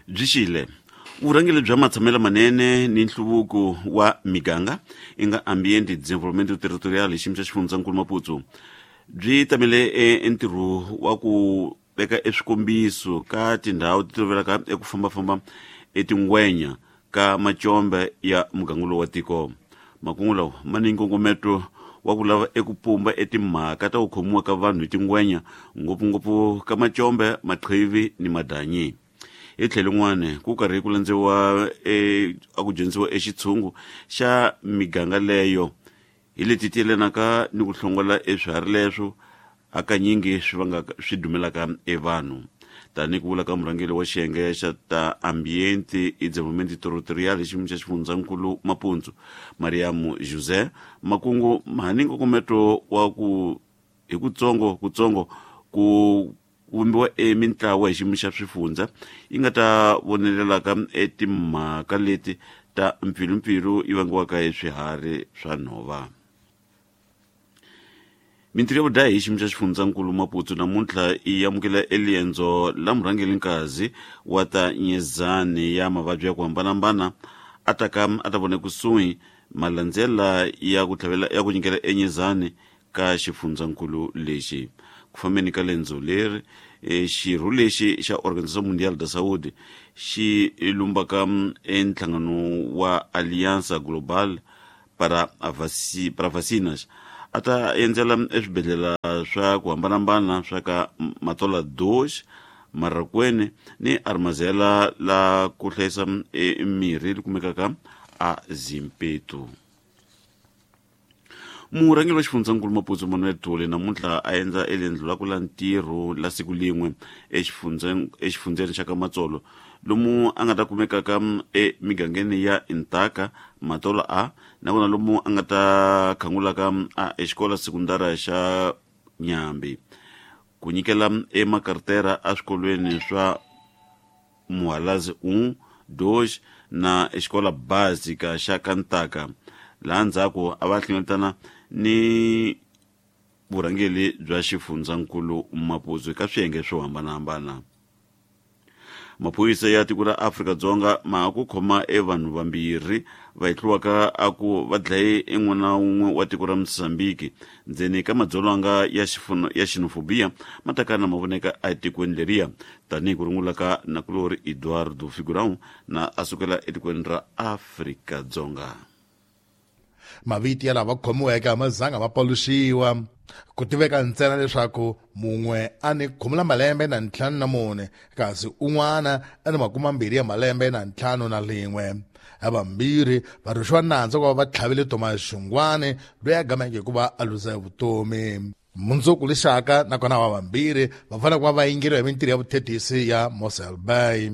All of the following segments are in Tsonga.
Byi xile vurhangeri bya matshamelo manene ni nhluvuko wa miganga i nga Ambiente Desenvolvimento Territorial hi xiyimo xa xifundzankulu Maputo byi tamele entirho wa ku veka eswikombiso ka tindhawu ti tolovelaka eku fambafamba etingwenya ka macombe ya muganga lowu wa tiko. Makungu lawa ma ni nkongometo wa ku lava eku pumba etimhaka ta ku khomiwa ka vanhu hi tingwenya, ngopfungopfu ka macombe, maqhivi ni madanyi. Hi tlhelo rin'wana, ku karhi ku landziwa e, a ku dyondzisiwa exitshungu xa miganga leyo hi leti ti yelanaka ni ku hlongola eswiharhi leswo hakanyingi swi vangaka swi dumelaka evanhu. Tanihi ku vula ka murhangeri wa xiyenge xa ta Ambiente e Desenvolvimento Territorial hi xiyimo xa xifundzankulu Mapuntsu, Mariamo José, makungu ma ni nkongometo wa ku hi kutsongo kutsongo ku vumbiwa emintlawa hi xiyimo xa swifundza yi nga ta vonelelaka etimhaka leti ta mpfilumpfilu yi vangiwaka hi swiharhi swa nhova. Mintirho ya vudlayi hi xiyimo xa xifundzankulu Maputo namuntlha yi amukela eliendzo la murhangeri nkazi wa ta nyezani ya mavabyi ya ku hambanahambana a ta ka a ta vona ekusuhi malandzela ya ku tlhavela ya ku nyikela enyezani ka xifundzankulu lexi. Ku fambeni ka lendzo leri, xirho lexi xa Organização Mundial da Saúde xi lumbaka enhlangano wa Aliança Global para, vaci, para Vacinas a ta endzela eswibedhlele swa ku hambanahambana swa ka Matola 2, Marracuene ni Armazela la ku hlayisa mirhi li kumekaka a Zimpeto. Murhangeri wa xifundzankulu Maputo Manuel Tole namuntlha a endla elendlo la ku la ntirho la siku lin'we exifundzeni xa ka Matsolo lomu a nga ta kumekaka emigangeni ya Intaka, Matolo A nakona lomu a nga ta khangulaka a exikola sekundara xa Nyambi ku nyikela emakartera eswikolweni swa Muhalazi 1, 2 na xikola básica xa Kantaka, laha ndzhaku a va hlengeletana ni vurhangeri bya xifundzankulu Maputo eka swiyenge swo hambanahambana. Maphorisa ya tiko ra Afrika-Dzonga ma ha ku khoma e vanhu vambirhi va hehliwaka a ku va dlaye e n'wana wun'we wa tiko ra Mozambique ndzeni ka madzolonga ya ya xenophobia ma ta kana ma voneka etikweni leriya tanihi ku rungula ka nakulorhi Eduardo Figurão na a sukela etikweni ra Afrika-Dzonga. Mavito ya lava khomiweke a ma zanga ma paluxiwa. Ku tiveka ntsena leswaku mun'we a ni khumula malembe na ntlhanu na mune kasi un'wana a ni makumambirhi ya malembe na ntlhanu na lin'we. Havambirhi va rhwexiwa nandzu wa ku va va tlhavile Thomas Xungwani loyi a gameke hi ku va a luza vutomi. Mundzuku lexaka nakona havambirhi va fanele ku va va yingeriwa hi mintirho ya vuthethisi ya Mossel Bay.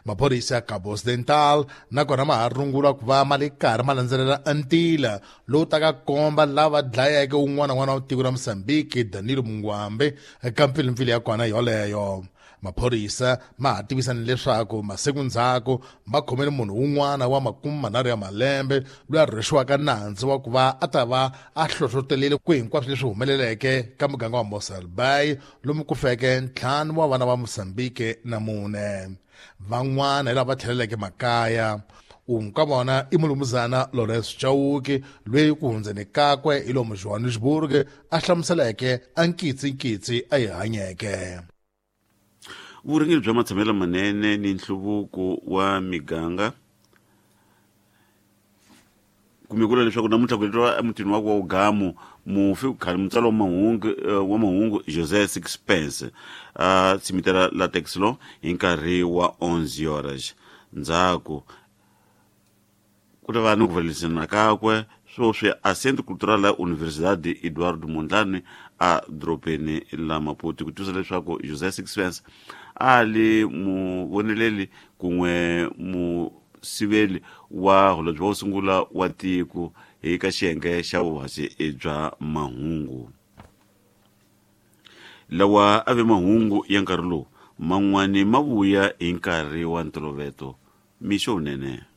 Maphorisa ya Cabo Occidental nakona ma ha rungula ku va ma le karhi ma landzelela ntila lowu taka komba lava dlayeke un'wana n'wana wa tiko ra Mozambique Danilo Mungwambe eka mpfilimpfili ya kona yoleyo. Maphorisa ma ha tivisa ni leswaku masiku ndzhaku ma khomele munhu un'wana wa makume manharhu ya malembe loyi a rhwexiwaka nandzu wa ku va a ta va a hlohlotelile ku hinkwaswo leswi humeleleke ka muganga wa Mossel Bay lomu ku feke ntlhanu wa vana va Mozambique na mune. Van'wana hi lava tlheleleke makaya. Un'we ka vona i mulumuzana Lawrence Chauke loyi ku hundzeni kakwe hi lomu Johannesburg a hlamuseleke a nkitsinkitsi a yi hanyeke. Vurhangeri bya matshamelo manene ni nhluvuko wa miganga kumbe ku vula leswaku namuntlha ku endliwa emutini wakwe wa Ugamu mufi khale mutsari wa mahungu wa mahungu José Sixpence a tshimitela la Texlo hi nkarhi wa 11 horas ndzhaku ku ta va ni ku valelisana kakwe swoswi a Centro Cultural la Universidade Eduardo Mondlane a dorobeni la Maputo ku tivisa leswaku José Sixpence a li muvoneleli kun'we musiveli wa holobye wo sungula wa tiko hi ka xiyenge xa vuhasi bya mahungu. Lawa a ve mahungu ya nkarhi lowu, man'wani ma vuya hi nkarhi wa ntoloveto. Mixo wunene.